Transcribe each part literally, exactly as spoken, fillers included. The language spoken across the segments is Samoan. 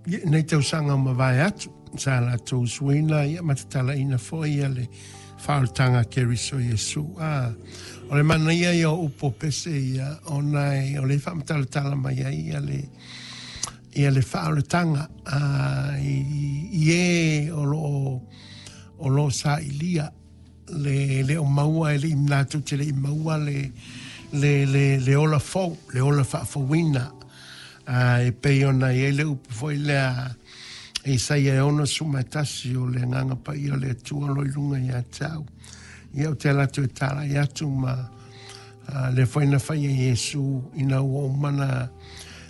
Nei tausaga ua mavae atu sa latou usuina ia ma tatalaina foi ia le faaolataga a Keriso Iesu. A o le manaia ia o upu o pese ia ona e o le faamatalatala mai ai ia le ia le faaolataga a i, i e o loo o loo sailia le le o maua e le i latou te le i maua le le le le ola fou, le ola faafouina. A e pei ona i ai le upu foi lea Isaia e ono suma tasi o le Agaga Paia o le Atua o lo i luga ia te au. Ia ou te alu atu e talai atu ma uh, le foi na fai e Iesu ina ua uma na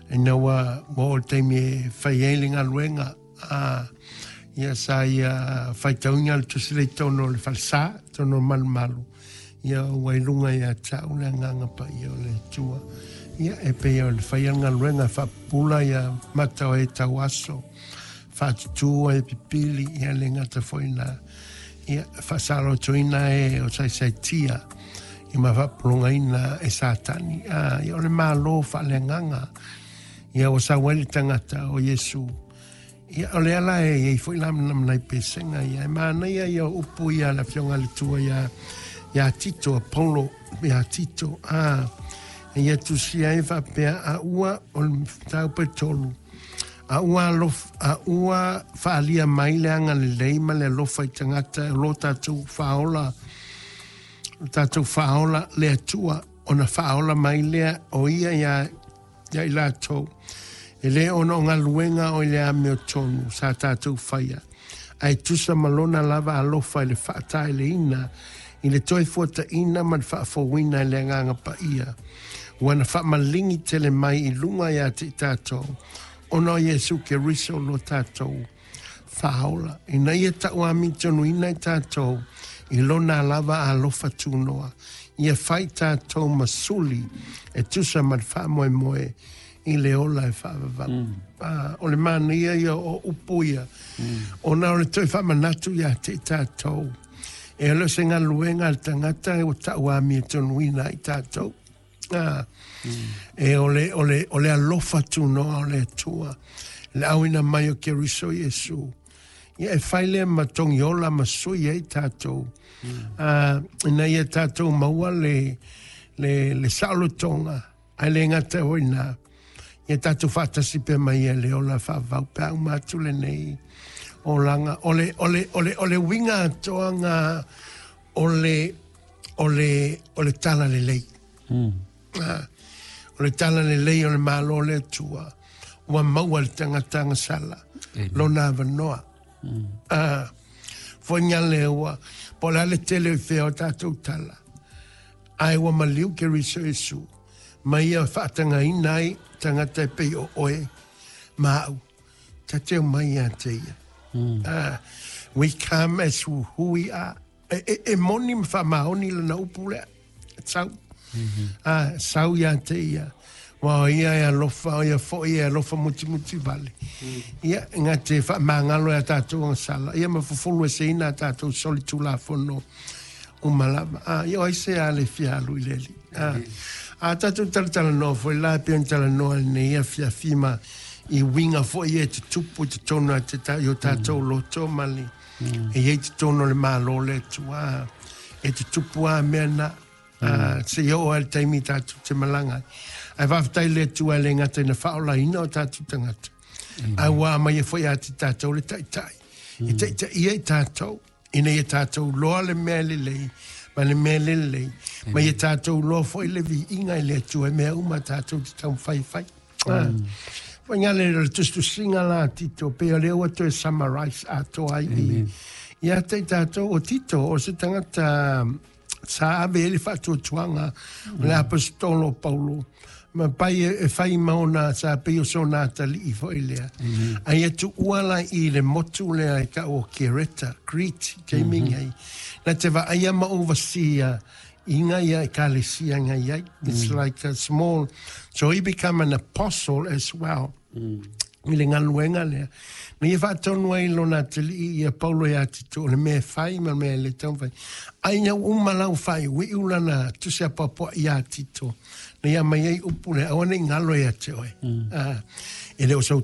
ina ua ua oo le taimi e fai ai le galuega a ia sa ia faitauina le tusi le tonu o le falesa tonu o malumalu ia ua i luga ia te au le Agaga Paia o le Atua. Ia e pei o le fai le galuega faapupula ia mata o e tau aso faatutu e pipili ia le gata foi na ia faasalotoina e o saisaitia i ma faapulungaina e Satani. A ia o le malo faaleagaga ia ua sau ai le tagata o Iesu. Ia o le ala e iai foi la manai pesega ia e manaia ia upu ia le afioga i le Atua ia ia Tito a Paulo ia Tito a ia tusia ai faapea a ua o le mataupu e tolu a ua alof, a ua faalia mai le agalelei ma le alofa i tagata o lo tatou faaola o tatou faaola le Atua ona faaola mai lea o ia ia ia i latou e le ona o galuega o i le amiotonu sa tatou faia ae tusa ma lona lava alofa i le faataeleina i le toe fuataina ma le faafouina i le Agaga Paia ua na faamaligi tele mai i luga ia te i tatou ona o Iesu Keriso lo tatou faaola ina ia tauamitonuina i tatou i lona lava alofa tunoa ia fai tatou ma suli e tusa ma le faamoemoe i le ola e faavavau. Mm. Ah, o le manaia ia o upu ia mm. ona o le toe faamanatu ia te i tatou e le o se galuega a le tagata e ua tauamiotonuina ai tatou. Ah, mm. E o le, o le, o le alofa tunoa o le Atua le auina mai o Keriso Iesu ia e fai lea ma togiola ma sui ai tatou mm. ah, ina ia tatou maua le, le, le saolotoga ae le gata foi na ia tatou faatasi pea mai ia le ola faavavau pe a uma atu lenei olaga o le, o le, o le, o le uiga atoaga o le, o le, o le tala lelei. Mm. Ah, o le tala lelei o le malo o le Atua ua maua le tagata agasala lona avanoa. Mm. Ah, foiga le ua po o le a le tele o i fea o tatou tala ae ua maliu Keriso Iesu ma ia faatagaina ai tagata e pei o oe ma au ta te omai ia te ia. Mm. Ah, we come as who we are. E, e, e moni ma faamaoni lana upu lea sau. Mm -hmm. Ah, sau ia te ia. Ua o ia e alofa, o ia foi e alofa mutimuti vale. Mm. Ia, nga te faamagalo e a tatou agasala. Ia ma fufulu eseina a tatou solitulafono uma lava. Ah, ia o ai se a le fia alu i le Alii. Ah, a tatou talatalanoa foi la e pei ona talanoa lenei afiafi ma i uiga foi ia e tutupu i totonu a te ta, i o tatou mm. loto ma le mm. e iai totonu o le malo le Atua e tutupu a mea na mm. uh, seia oo ai le taimi tatou te malaga ai. Ae faafetai le Atua e le gata ina faaolaina o tatou tagata. Mm. Ae ua aumaia foi ia te tatou le taitai. Mm. E taitaia i tatou ina ia tatou loa le mea lelei ma le mea lelei ma ia tatou loa foi le viiga i le Atua e mea uma tatou te taumafai e fai. Mm. Foi ngā le le tusitusiga la a Tito, pei o lea ua toe summarize atoa ai i, ia te i tatou o Tito, o se tagata sa ave ai le faatuatuaga o le aposetolo o Paulo, ma pai e, e fai ma ona sa pei o sona atalii foi lea. Ae ia tuua la i le motu lea e tau o Kereta, Crete, taimi nei, na te vaaia ma overseer i nga ia ekalesia nga iai. It's like a small, so he become an apostle as well. I le galuega lea. Na ia faatonu ai lona atalii ia Paulo ia Tito o le mea e fai ma le mea e le taumafai. Ai ina ua uma la ua faaiuiu lana tusi apoapoai ia Tito. Na ia aumai ai upu lea, aua ne i galo ia te oe. Ah, e le o sau